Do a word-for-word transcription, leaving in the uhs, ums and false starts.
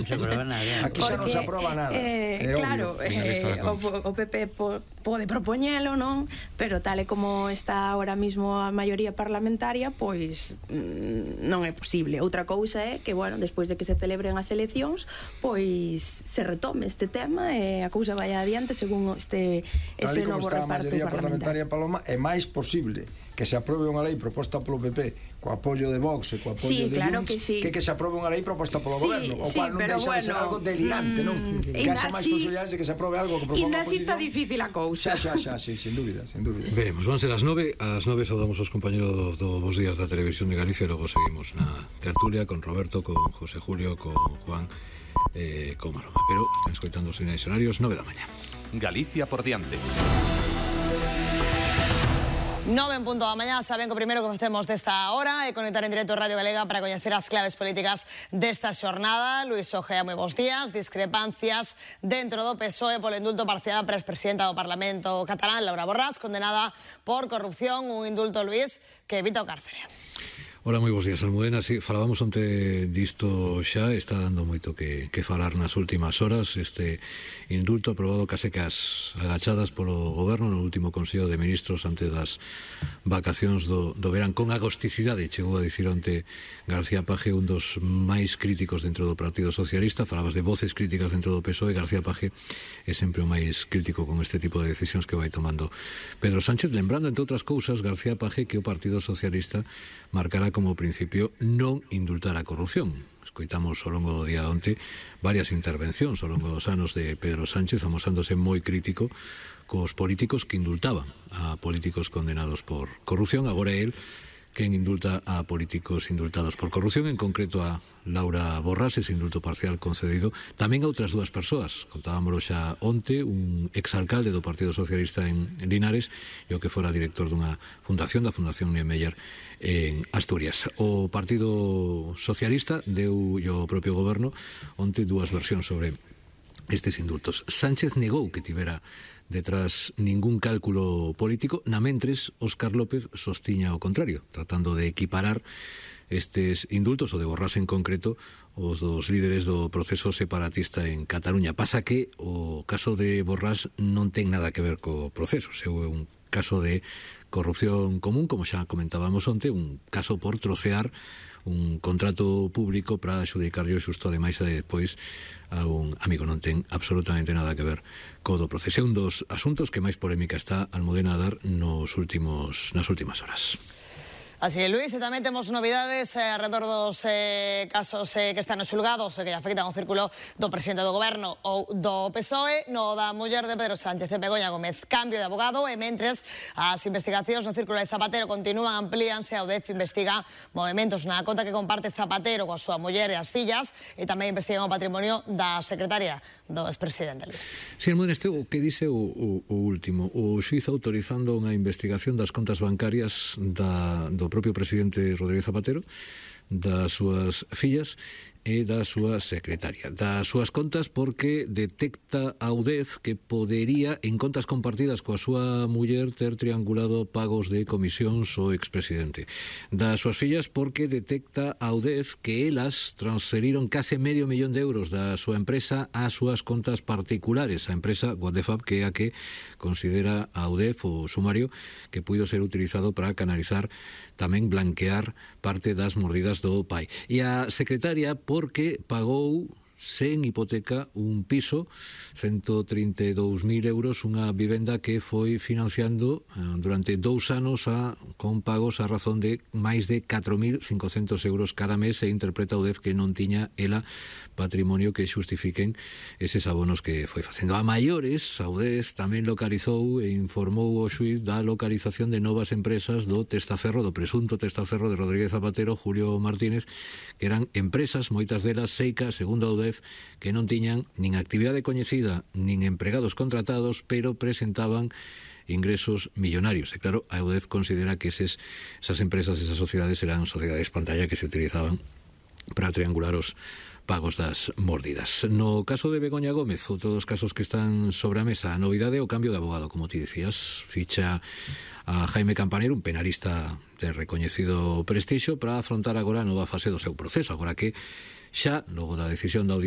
se aproba nada. Aquí xa non se aproba nada. Eh, claro, eh, o, o P P po, pode propoñelo, non? Pero tal e como está ahora mismo a maioría parlamentaria, pois mm, non é posible. Outra cousa é que, bueno, despois de que se celebren as eleccións, pois se retome este tema e a cousa vai adiante según este ese novo reparto parlamentario. parlamentario. Paloma, é máis posible que se aprobe unha lei proposta polo P P co apoio de Vox e co apoio sí, de claro Junts que, sí. que que se aprobe unha lei proposta polo sí, goberno, o sí, cual non pero deixa bueno, de ser algo delirante, mm, non? Que haxa máis posibilidades de que se aprobe algo que proponga a oposición. Ainda así está oposición. difícil a cousa. Xa, xa, xa, sí, sin dúbida, sin dúbida. Veremos, van ser as nove, ás nove saudamos os compañeros do Bos Días da Televisión de Galicia e logo seguimos na tertulia con Roberto, con José Julio, con Juan, eh, con Maroma. Pero están escoitando os sinais horarios, nove da mañá. Galicia por diante. Nove en punto da mañá, saben que o primeiro que facemos desta hora é conectar en directo Radio Galega para coñecer as claves políticas desta xornada. Luís Ojea, moi bons días. Discrepancias dentro do P S O E polo indulto parcial para a expresidenta do Parlamento catalán, Laura Borràs, condenada por corrupción. Un indulto, Luís, que evita o cárcere. Hola, moi bons días, Almudena. Sí, falábamos onte disto xa, está dando moito que, que falar nas últimas horas. Este indulto aprobado case cas agachadas polo goberno no último Consello de Ministros antes das vacacións do, do verán. Con agosticidade, chegou a dicir onte García Paje, un dos máis críticos dentro do Partido Socialista. Falabas de voces críticas dentro do P S O E. García Paje é sempre o máis crítico con este tipo de decisións que vai tomando Pedro Sánchez, lembrando, entre outras cousas, García Paje, que o Partido Socialista marcará como principio non indultar a corrupción. Escoitamos ao longo do día de onte varias intervencións ao longo dos anos de Pedro Sánchez amosándose moi crítico cos políticos que indultaban a políticos condenados por corrupción. Agora é el quen indulta a políticos indultados por corrupción, en concreto a Laura Borràs, ese indulto parcial concedido tamén a outras dúas persoas. Contábamoslo xa onte, un exalcalde do Partido Socialista en Linares e o que fora director dunha fundación, da Fundación Niemeyer en Asturias. O Partido Socialista deu o propio goberno onte dúas versións sobre estes indultos. Sánchez negou que tivera detrás ningún cálculo político, na mentres Óscar López sostiña o contrario, tratando de equiparar estes indultos, o de Borràs en concreto, os dos líderes do proceso separatista en Cataluña. Pasa que o caso de Borràs non ten nada que ver co proceso, é un caso de corrupción común, como xa comentábamos onte, un caso por trocear un contrato público para adxudicarlo xusto ademais e despois a un amigo. Non ten absolutamente nada que ver co do proceso. É un dos asuntos que máis polémica está Almudena a dar nos últimos, nas últimas horas. Así é, Luís, e tamén temos novidades eh, alrededor dos eh, casos eh, que están nos xulgados e que afectan ao círculo do presidente do goberno ou do P S O E, no da muller de Pedro Sánchez e Begoña Gómez. Cambio de abogado e mentres as investigacións no círculo de Zapatero continúan, amplíanse. A U D E F investiga movimentos na conta que comparte Zapatero coa súa muller e as fillas e tamén investigan o patrimonio da secretaria do expresidente, Luís. Si, sí, este o que dice o, o, o último, o xuiz autorizando unha investigación das contas bancarias da, do propio presidente Rodríguez Zapatero, das súas fillas e da súa secretaria, das súas contas, porque detecta a U D E F que podería, en contas compartidas coa súa muller, ter triangulado pagos de comisións ao expresidente. Das súas fillas, porque detecta a U D E F que elas transferiron case medio millón de euros da súa empresa ás súas contas particulares, a empresa Guadefab, que é a que considera a U D E F o sumario que puido ser utilizado para canalizar, tamén blanquear parte das mordidas do pai. E a secretaria, porque pagou sen hipoteca un piso, ciento trinta e dous mil euros, unha vivenda que foi financiando eh, durante dous anos a, con pagos a razón de máis de catro mil cincocentos euros cada mes, e interpreta o D E F que non tiña ela patrimonio que xustifiquen eses abonos que foi facendo. A maiores, a U D E F tamén localizou e informou o xuiz da localización de novas empresas do testaferro, do presunto testaferro de Rodríguez Zapatero, Julio Martínez, que eran empresas, moitas delas seicas, segundo a U D E F, que non tiñan nin actividade coñecida nin empregados contratados, pero presentaban ingresos millonarios. E claro, a U D E F considera que eses, esas empresas, esas sociedades eran sociedades pantalla que se utilizaban para triangular os pagos das mordidas. No caso de Begoña Gómez, outro dos casos que están sobre a mesa, a novidade é o cambio de abogado, como ti dicías. Ficha a Jaime Campanero, un penalista de recoñecido prestixio, para afrontar agora a nova fase do seu proceso, agora que xa, logo da decisión da Audiencia